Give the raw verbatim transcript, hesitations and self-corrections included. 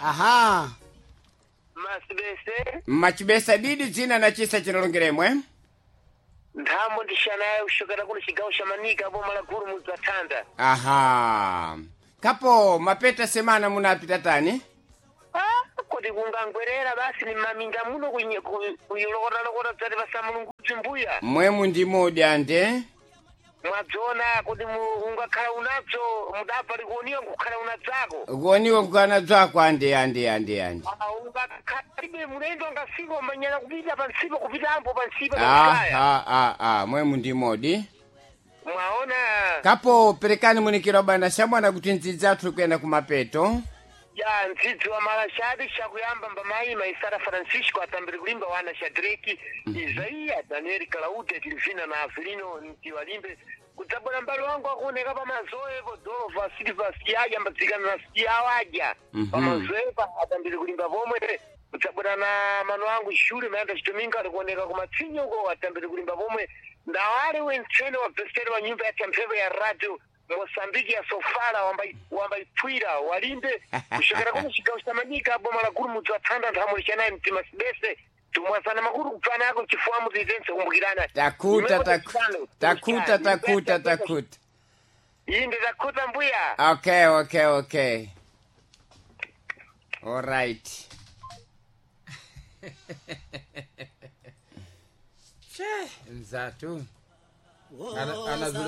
Aha. Masibese. Machibesa didi dzina na chisa chinalongeremwe. Nthamo ndishanayo kushokera kuno chigawo cha Manika boma la guru mudzi wa Thanda. Aha. Kapo mapeta semana munapita tani? Ah, kuti kungangwerera basi ni maminda muno kunye- ku- kuyilokota-lokota dzati pasamulungudzi mbuya. Mwemu ndimodi ande. Mwadzona kuti mu- ungakhala unadzo mudabva likuoniwa nkukhala unadzako. Kuoniwa kukana dzako ande ande ande ande. Ah, ungakhalibe mulendo angafika umanyana kupita pansipo kupita ambo pansipo pakusaya. Aha, ah, ah, mwemu ndimodi. Mwaona. Kapo perekani munikiro bana shamwana kuti ndzidzi athu kuyenda kumapeto. Ya ndzidzi wa malashadi shakuyamba mbamaima Isara Francisco atambiri kulimba wana Shadraki Isaia Daniel Claude Tilvina na Avelino Ntiwalimbe kudzabwera mbali wangu akuoneka pamazoepo Dolova Silva Siaja mbadzikana na Siawaja Mhm. pamazoepa atambiri kulimba pomwe kudzabwera na mano angu Shule Mayanda Chitominga alikuoneka kumatsinyo uko atambiri kulimba pomwe ndawale wentsene wa beseri wa nyumba ya tamphepo ya radio Mosambiki ya Sofala wambaipwira walimbe kushokera kuno chigawo cha Manika boma la guru mudzi wa Thanda nthamo lichanayi mtima sibese tumwasana makuru kupfana ako chifuwa mudzi kumbukirana Takuta takuta takuta takuta takuta. Inde takuta mbuya. Okay, okay, okay. All right. Che, mzatu. Ana, ana zule